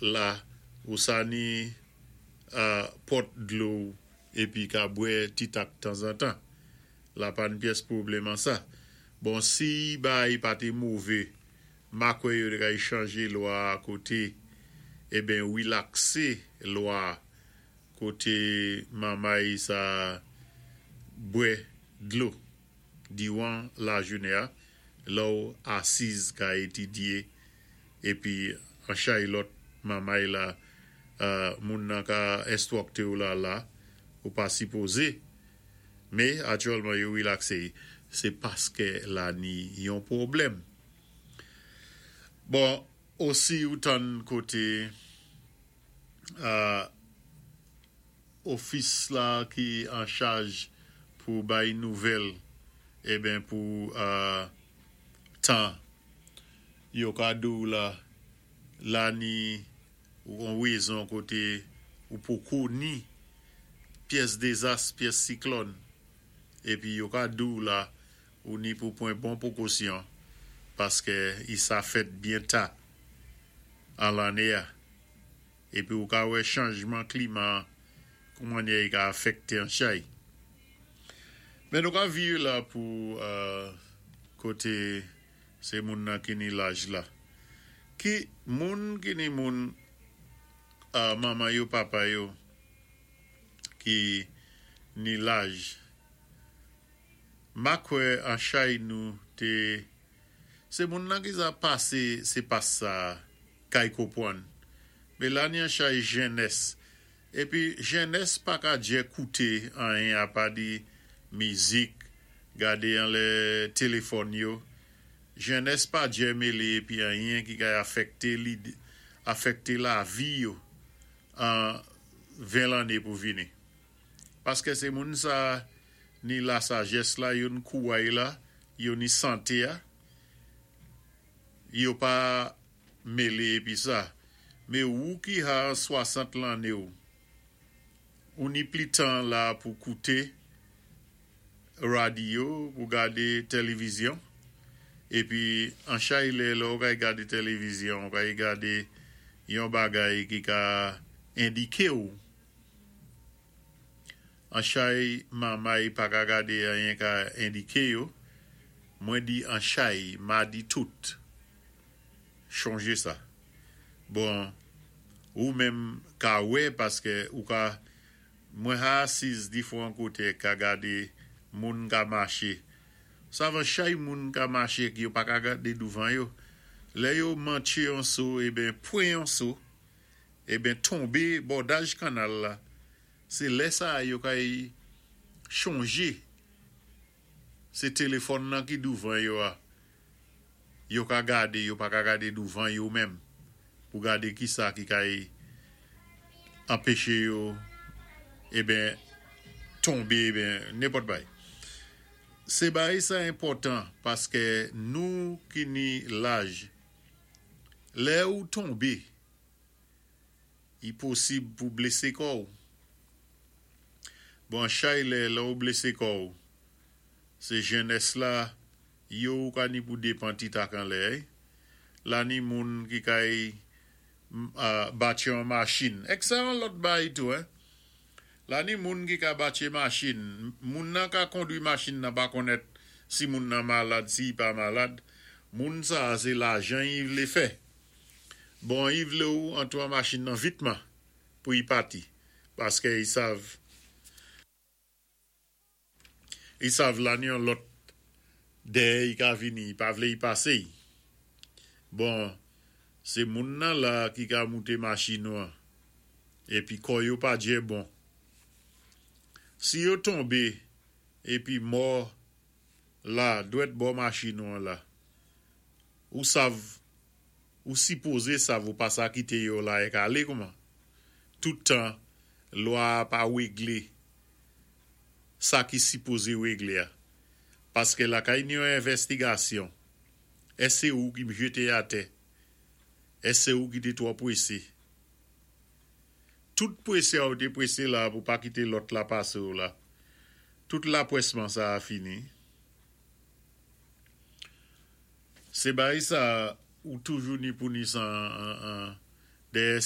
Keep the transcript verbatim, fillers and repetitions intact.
La ou sa ni pòt dlo épi ka bwè ti tak tanzantan. La pa ni pyès pwoblèm an sa. Bon, si bagay pa té mové, ma kwè yo té kay chanjé lwa koté, eben wilaksé lwa koté manmay sa bwè dlo diwan lajounen-an, lè-w asiz ka étidyé épi an chay lòt manmay la moun nan ka enstwikté-w la la, ou pa sipozé, mé aktyèlman yo wilaksé, sé paské la ni yon pwoblèm. Bon, osi ou tann koté ofis la ki an chaj pou bay nouvèl, eben pou tan yo ka di-w la, la ni yon wézon koté ou poko ni pyès dézas, pyès siklòn, épi yo ka di-w la ou ni pou pwan bon pwékosyon paské i sa fèt byen ta an lanné-a. Épi ou ka wè chanjman klima kouman mannyè i ka afèkté an chay. Men nou ka viré la pou koté sé moun nan ki ni laj la. Ki moun ki ni moun manman yo, papa yo ki ni laj, ma kwè an chay nou té sé moun nan ki sa pasé sé pas sa kay konpwann. Mé la ni an chay jènès. Épi jènès pa ka djè kouté anyen apa di mizik, gadé anlè téléfòn yo. Jènès pa djè mélé épi anyen ki kay afèkté lid, afèkté lavi yo an ven lanné pou vini. Paské sé moun sa ni la sajès la, yo ni kouway la, yo ni santé-a, yo pa mélé épi sa. Mé ou ki ha swasant lanné ou, ou ni pli tan la pou kouté radyo, pou gadé télévizyon, épi an chay lè lè ou kay gadé télévizyon, ou kay gadé yon bagay ki ka endiké ou. An chay manmay pa ka gadé anyen ka endiké yo, mwen di an chay, ma di tout. Chonjé sa. Bon, ou menm ka wè paské ou ka mwen ha asiz difwan koté ka gadé moun ka maché. Savan chay moun ka maché ki yo pa ka gadé douvan yo. Lè yo mantché yon so, eben pwan yon so, eben tonbé bòdaj kannal la. Sé lè sa yo kay chonjé. Sé téléfòn nan ki douvan yo a. Yo ka gadé, yo pa ka gadé douvan yo menm. Pou gadé ki sa ki kay anpéché yo, eben tonbé, eben nenpòt bay. Sé bay sa enpòtan paské nou ki ni laj, lè ou tonbé, i posib pou blésé kò-w. Bon, chay lè, lè ou blésé kò-w, sé jènès la, yo ou ka ni pou dépan ti tak an lè, la ni moun ki kay batché an machin. Èk sa an lòt bay tou, hein? La ni moun ki ka batché machin, moun nan ka kondwi machin nan pa konnèt si moun nan malad, si pa malad, moun sa sé lajan i vlé fè. Bon, i vlé ou antwé an machin nan vitman pou i pati, paské i sav i sav la ni yon lòt dèyè i ka vini, i pa vlé i pasé. Bon, sé moun nan la ki ka mouté machin ou an, épi kò yo pa djè bon. Si yo tonbé, épi mò la, dwèt bò machin ou an la, ou sav, ou sipozé sav ou pa sa kité yo la èk alé kouman. Tout tan, lwa pa wéglé, sa ki sipozé wéglé a. Paské la kay ni yon envèstigasyon, èsk sé ou ki m jété atè, èsk sé ou ki té twò pwésé. Tout pwésé a ou té pwésé la pou pa kité lòt la pasé ou la. Tout lapwèsman sa a fini. Sé bay sa ou toujou ni pou ni san dèyè.